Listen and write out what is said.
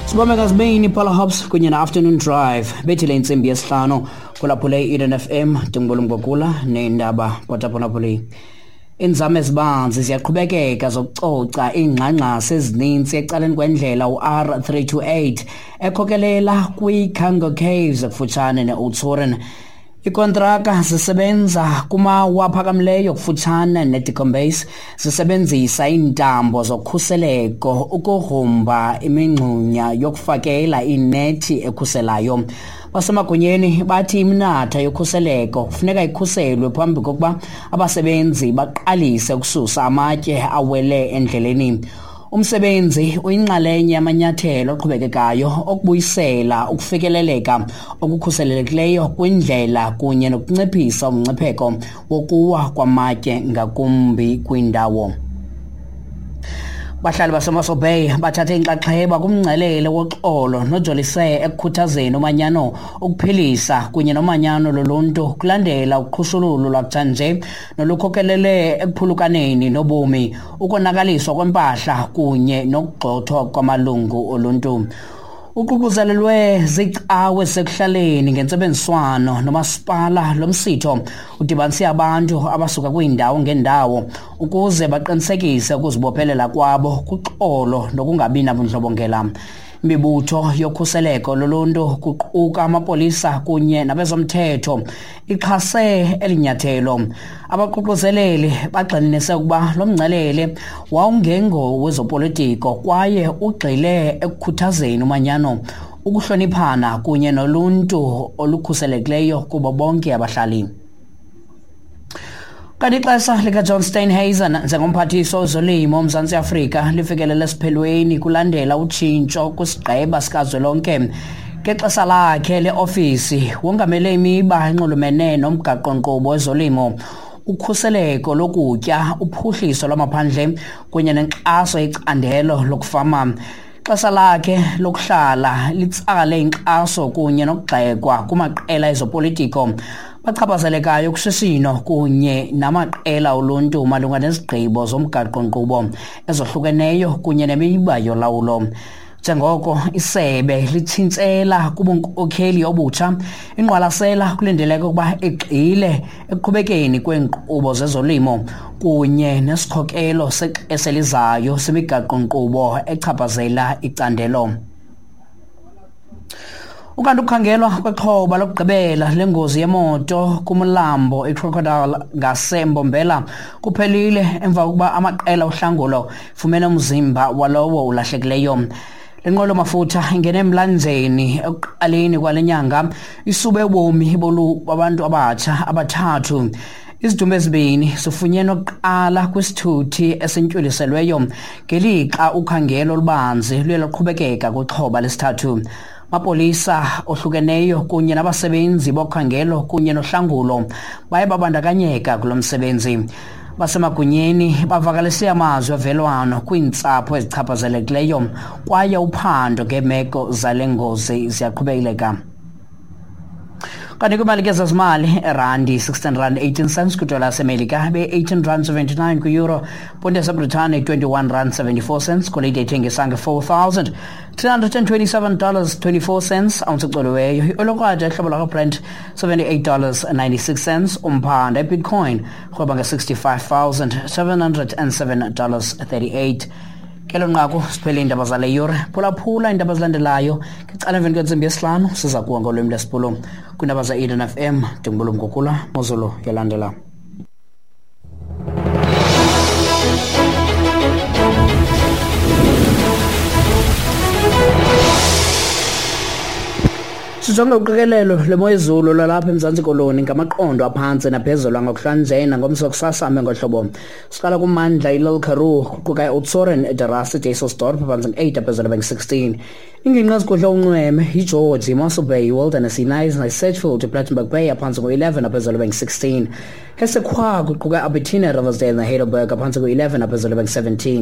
Sibambe ngazibini Paula Hobbs kunye na-Afternoon Drive bethile intsimbi yesihlanu kulaphule i-Eden FM ndingubulumgogula neendaba kwataphulaphuli. Iinzame ezibanzi ziyaqhubekeka zokucoca iingxangxasi ezininzi ecaleni kwendlela u-R328 ekhokelela kwi-Cango Caves kufutshane ne-Oudtshoorn. Ikontraka zisebenza kumawa aphakamileyo kufutshane neDicombase zisebenzisa iintambo zokhuseleko ukugrumba imingxunya yokufakela inethi ekhuselayo. Basemagunyeni bathi iminatha yokhuseleko kufuneka ikhuselwe phambi kokuba abasebenzi baqalise ukususa amatye awele endleleni. Umsebenzi uyinxalenye yamanyathelo aqhubekekayo okubuyisela ukufikeleleka okukhuselelekileyo kwindlela kunye nokunciphisa umngcipheko wokuwa kwamatye ngakumbi kwindawo. Bahlali baseMossel Bay bathathe inxaxheba kumngcelele woxolo nojolise ekukhuthazeni umanyano, ukuphilisa kunye nomanyano loluntu kulandela uqhushululu lwakutshanje nolukhokelele ekuphulukaneni nobomi, ukonakaliswa kwempahla kunye nokugxothwa kwamalungu oluntu. Uququzelelwe ziicawe sekuhlaleni ngentsebenziswano nomasipala. Lo msitho udibanise abantu abasuka kwiindawo ngeendawo ukuze baqinisekise ukuzibophelela kwabo kuxolo nokungabi nabundlobongela. Imibutho yokhuseleko loluntu kuquka amapolisa kunye nabezomthetho ixhase eli nyathelo. Abaququzeleli bagxininise ukuba lo mngcelele wawungengo wezopolitiko kwaye ugxile ekukhuthazeni umanyano, ukuhloniphana kunye noluntu olukhuselekileyo kubo bonke abahlali. Kanti ixesha likaJohn Steenhuisen njengomphathiswa wezolimo oMzantsi Afrika lifikelele esiphelweni kulandela utshintsho kwisigqeba sikazwelonke. Ngexesha lakhe leofisi wongamele imiba enxulumene nomgaqo-nkqubo wezolimo, ukhuseleko lokutya, uphuhliso lwamaphandle kunye nenkxaso yecandelo lokufama. Ixesha lakhe lokuhlala litsale inkxaso kunye nokugxekwa kumaqela ezopolitiko bachaphazelekayo kushishino kunye namaqela oluntu malunga nezigqibo zomgaqo-nkqubo ezohlukeneyo kunye nemiba yolawulo. Njengoko isebe litshintshela kubunkokheli obutsha, ingqwalasela kulindeleke ukuba igxile ekuqhubekeni kweenkqubo zezolimo kunye nesikhokelo sexesha elizayo semigaqo-nkqubo echaphazela icandelo. Ukanti ukukhangelwa kwexhoba lokugqibela lengozi yemoto kumlambo iCrocodile ngaseMbombela kuphelile emva kokuba amaqela ohlangulo fumene umzimba walowo ulahlekileyo. Le nqwelo-mafutha ingene emlanjeni ekuqaleni kwale nyanga isube ubomi babantu abatsha abathathu. Izidumbu ezibini zifunyenwe kuqala kwisithuthi esintyuliselweyo ngelixa ukhangelo olubanzi luye lwaqhubekeka kwixhoba lesithathu. Amapolisa ohlukeneyo kunye nabasebenzi bokhangelo kunye nohlangulo baye babandakanyeka kulo msebenzi. Basemagunyeni bavakalise amazwi ovelwano kwiintsapho ezichaphazelekileyo kwaye uphando ngeemeko zale ngozi ziyaqhubeleka. Kanti kwimali ke zezimali, erandi 16 rand 18 cents kwidola yasemelika, be-18 rand 79 kwi-euro, ponti yaseBritane 21 rand 74 cents, golide ithengisa nge-$4,327 24 cents ounce ecoliweyo, iolokraja ihlobo lakwaBrent $78 96 cents, umphanda ibitcoin rhweba nge-$65,707 38. Kelo nqaku siphele iindaba zale yure. Phulaphula iindaba ezilandelayo ngecala emveni kwentsimbi yesihlanu. Siza kuwa ngolwimi lwesiBhulu kwiindaba ze-Eden FM. Ndingubulumgugula Mozulu yolandela. Sijonge uqikelelo lwemo yezulu lwalapha eMzantsi Koloni ngamaqondo aphantsi naphezulu angokuhlanje nangomso kusasa ame ngohlobo. Siqala kumandla iLille Karoo kuquka iOudtshoorn, eDerasi, Dysselsdorp phantsi nge-8 aphezulu bengu-16. Ingingqi ezigudla unxweme yiGeorge, iMossel Bay, iWilderness, iKnysna, iSedgefield, iPlettenberg Bay aphantsi ngo-11 aphezulu bengu-16. Hessequa kuquka Albertina, Riversdale neHeidelberg aphantsi ngo-11 aphezulu bengu-17.